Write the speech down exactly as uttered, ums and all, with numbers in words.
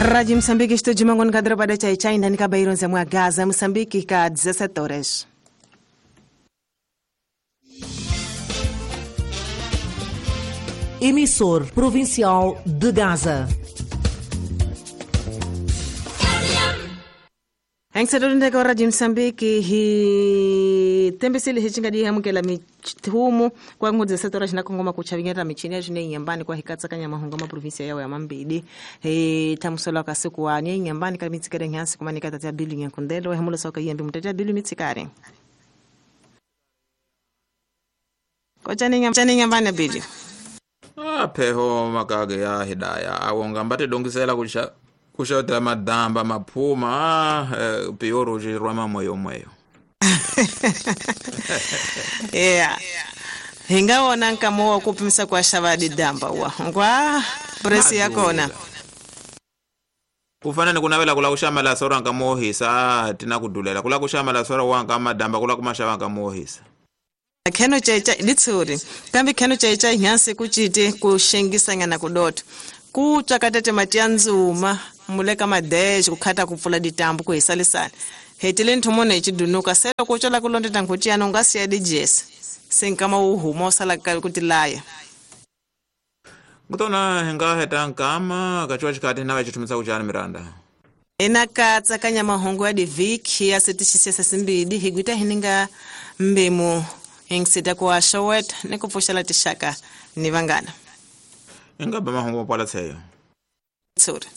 Rádio Moçambique, estúdio Mangono Kadroba da Chai Chai, Ndani Kabaironze mwa Gaza, Moçambique, ka dezessete horas. Emissor Provincial de Gaza. Angisedolindeka Radio Moçambique hi tembisile hi cingadi hamukela mithumu kwa ngudze setora xina kongoma ku chavinyeta michini ya zwine nyambani kwa hikatsakanya mahungu ma provinsia yawo ya mambili hi thamusela ka siku wa nye nyambani ka mitsikere nyansi kumanika tata bilu nyankundelo hemulo soka yembe mutata bilu mitsikare kochani nyambani nyambani bilu ah pheho makage ya hidaya awonga mbate dongisela kusha kushota madamba maphuma eh, pioro jirwa moyo moyo yeah hingaona nkamo kupimisa kwa shavadi damba wa ngwa presi yakona kufanana kunavela kula kushamala sora nkamohisa tina kudulela kula kushamala sora wanga madamba kula kumashava nkamohisa kheno checha litsuri kambi kheno checha nyansi kuchite kushengisanya kudotho kutsvakatete mati ya ndzuma muleka madexe kukhata kupfula ditambu kuhisalisana hetile nthumone hichidunuka selo kutswela kulondeta nkhuti yana unga siya dijesa senkama wu huma usala kutilaya kutona hinga heta nkama kachiwa chikati nava chithumisa kuchani miranda ina katsakanya mahungu ya diviki ya setixisesa simbili higwita hininga mbimu hingisita kuwa xoweta ni ku pfuxela tixaka ni vangana ingaba mahungu mapwala tsheyo tsuri.